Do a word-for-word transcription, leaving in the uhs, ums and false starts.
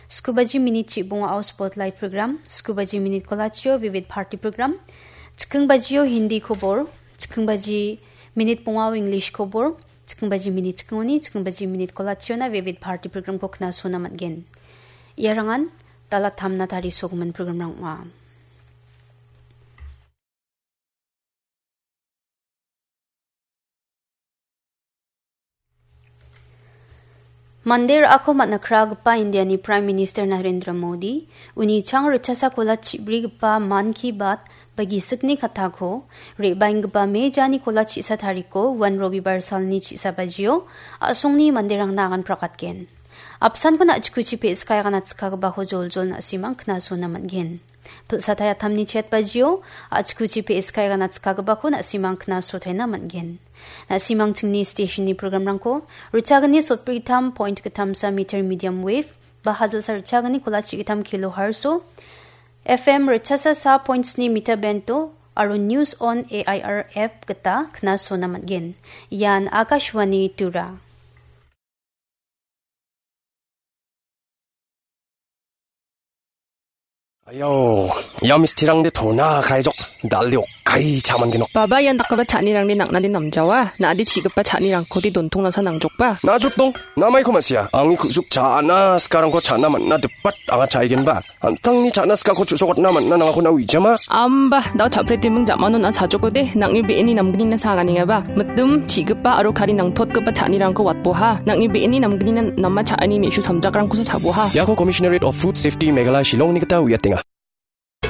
Skubaji minit chibongao Spotlight program, skubaji minit kolachio Vivid Bharati program, chikingbajio Hindi kobor, chikingbajio minit bongao English kobor, chikingbajio minit chikingoni, chikingbajio minit kolachiona Vivid Bharati programko knasona man·gen. Iarangan dala tamna tarisogimin programrang ong·a. Mande ra·ako man·a kragipa Indiani Prime Minister Narendra Modi, uni chang ritchasa kola chibrigipa Mann Ki Baat ba gisikni kattako, re·baenggipa Mejani kola chisa tariko, uan Robibar salni chisa bajio, a·songni manderangna agan prakatgen. Apsanko na·chikuchi pe·skae agan atskagipako joljol na·simang knasona man·gen. Pilsatai atamni chet bajio, a·chikuchi pe·skae agan atskagipako na·simang knasotaina man·gen. Na·simang chingni stationni programrangko, ritchagni sotbrigittam point gittamsa meter medium wave, ba hajalsa ritchagni kolachi gittam kilohertz-o, F M ritchasa sa point sni meter band-o, aro News on A I R app gita knasona man·gen. Ian Akashvani Tura. Ayau, ia mistirangde tona kraijok, dal·de okai cha·mangenok. Baba, ian dakgipa cha·anirangde nang·nade namjawa, na·ade chi·gipa cha·nirangkode dontongnasa nangjokba. Na·jotdong, namaiko ma·sia, angni ku·suk cha·na sikarangko cha·na man·na dipat anga cha·aigenba. An·tangni cha·na sikako chu·sokatna man·na nangako na uijama. Amba, dao cha·pretiming ja·mano na·a sajokode, nang·ni be·eni namgnina saganengaba. Mitim, chi·gipa aro kari nangtotgipa cha·anirangko watboha. Nang·ni be·eni namgnina nama cha·ani me·su samjakrangkosa cha·boha. Iako Commissionerate of Food Safety Meghalaya Shillongni gita uiatenga.